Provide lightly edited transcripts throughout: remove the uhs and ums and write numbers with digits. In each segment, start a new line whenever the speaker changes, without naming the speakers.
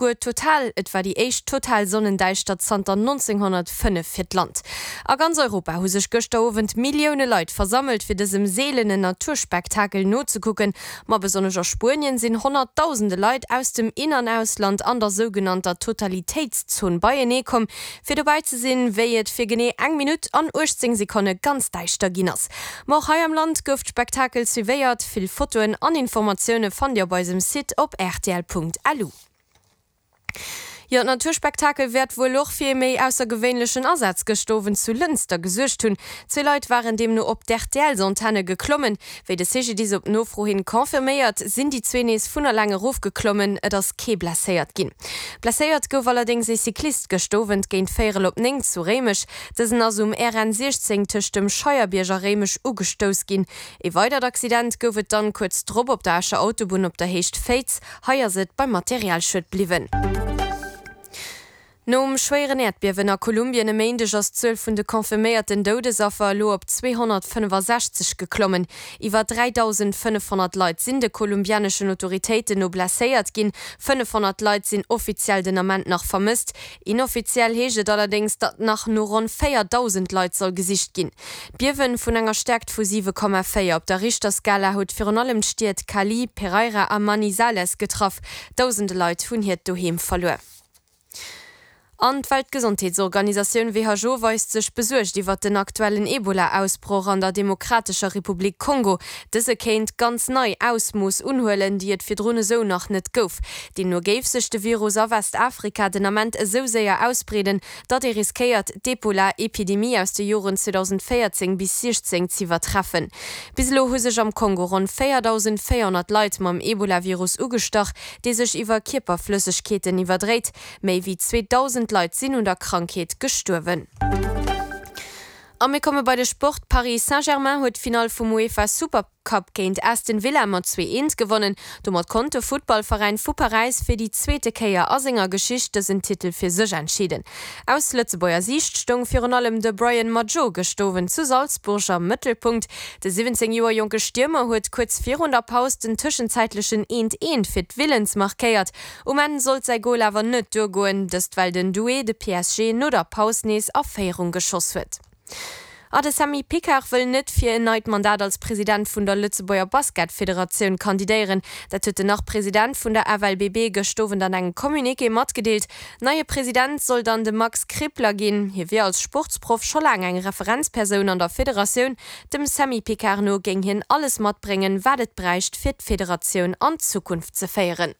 Guer total, et war déi éischt total Sonnendäischtert zanter 1905 fir d'Land. A ganz Europa hu sech gëschter Owend Millioune Leit versammelt, fir dësem seelenen Naturspektakel nozekucken. Ma besonnesch a Spuenien sinn honnertdausende Leit aus dem In an Ausland an der sougenannter Totalitéitszon beienee komm, fir dobäi ze sinn, wéi et fir genee eng Minutt an 18 Sekonne ganz däischter ginn ass. Ma och hei am Land gouf d'Spektakel suivéiert. Vill Fotoen an Informatioune fannt Dir op eisem Site op rtl.lu. Jo, d'Naturspektakel wäert wuel och fir ee méi aussergewéinlechen Asaz gëscht Owend zu Lënster gesuergt hunn. Zwee Leit waren deemno op d'RTLs-Antenne geklommen. Wéi de CGDIS op Nofro hin confirméiert, sinn déi zwee nees vun eleng erofgeklommen. Et ass kee blesséiert ginn. Blesséiert gouf allerdéngs ee Cyclist gëscht Owend géint véierel op 9 zu Réimech. Dësen ass um RN 16 tëscht dem Scheierbierg a Réimech ugestouss ginn. Ee weidert Accident gouf et dann kuerz drop op der Escher Autobunn op der Héicht Féiz. Hei ass et beim Materialschued bliwwen. Nom schwéieren Äerdbiewen a Kolumbien e Méindeg ass d'Zuel vun de confirméierten Doudesaffer elo op 265 geklommen. Iwwer 3.500 Leit sinn de kolumbianeschen Autoritéiten no blesséiert ginn, 500 Leit sinn offiziell den Ament nach vermësst. Inoffiziell heescht et allerdéngs, datt nach no ronn 4.000 Leit soll gesicht ginn. D'Biewen vun enger Stäerkt vu 7,4 op der Richterskala huet virun allem d'Stied Cali, Pereira a Manizales getraff. Dausende Leit hunn hiert Doheem verluer. An d'Weltgesondheetsorganisatioun who weist sech besuergt iwwert den aktuellen Ebola-Ausbroch an der Demokratescher Republik Kongo. Dëse kéint ganz nei Ausmooss unhuelen, déi et virdrun esou nach net gouf. Deemno géif sech de Virus a Westafrika den Ament esou séier ausbreeden, datt ee riskéiert, d'Ebola-Epidemie aus de Joren 2014 bis 16 z'iwwertreffen. Bis elo hu sech am Kongo ronn 4.400 Leit mam Ebola-Virus ugestach, dee sech iwwer Kierperflëssegkeeten iwwerdréit. Méi wéi 2.000 Leit sinn un der Krankheet gestuerwen. A mir komme bei de Sport, Paris Saint-Germain huet d'Finall vum UEFA Super. Cup géint Aston Villa mat 2, 1 gewonnen. Domat konnt de Futtballveräin vu Paräis fir déi zweete Kéier a senger Geschicht dësen Titel fir sech entscheeden. Aus Lëtzebuerger Siicht stoung virun allem de Brian Madjo gëscht Owend zu Salzburg am Mëttelpunkt. De 17 Joer jonke Stiermer huet kuerz virun der Paus den tëschenzäitlechen 1, 1 fir d'Villans markéiert. Um Enn sollt säi Gol awer net duergoen, dëst well den Doué de PSG no der Paus nees a Féierung geschoss huet. A de Samy Picard wëll net fir en neit Mandat als President vun der Lëtzebuerger Basketfederatioun kandidéieren. Dat huet den Nach-President vun der FLBB gëscht Owend an engem Communiqué matgedeelt. Neie President soll dann de Max Krippler ginn. Hie wier als Sportsproff scho laang eng Referenzpersoun an der Federatioun. Dem Samy Picard no géing hien alles matbréngen, wat et bräicht, fir d'Federatioun an d'Zukunft ze féieren.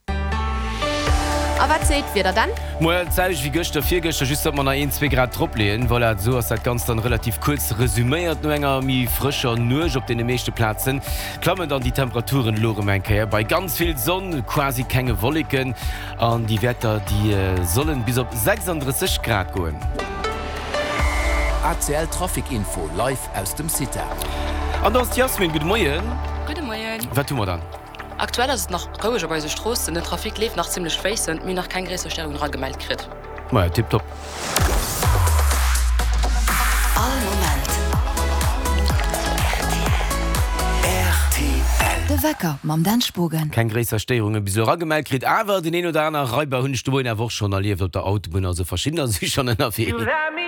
A wat seet d'Wieder dann?
Moien, d'selwecht wéi gëschter, virgëschter, just datt mer nach een, zwee Grad drop leeën. Voilà, esou ass dat Ganzt dann relativ kuerz resüméiert. No enger méi frëscher Nuecht op deene meeschte Plazen klammen dann déi Temperaturen elo erëm eng Kéier bei ganz vill Sonn, quasi kenge Wolleken an déi Wäerter déi sollen bis op 36 Grad goen.
ACL Trafic Info live aus dem CITA.
An do ass d'Yasmine, gudde Moien.
Gudde Moien.
Wat hu mer dann?
Aktuell ass et nach roueg op eise Stroossen, den Trafic leeft nach zimmlech fléissend, mir hunn nach keng gréisser Störungen eragemellt kritt.
Maja, tiptop.
All Moment rtl.
De Wecker mam Dan Spogen.
Keng gréisser Stéierunge bis elo eragemellt kritt, awer den een oder aner Raiber hunn ech de Moien awer och schonn erlieft op der Autobunn, also verschiddener si schonn ënnerwee.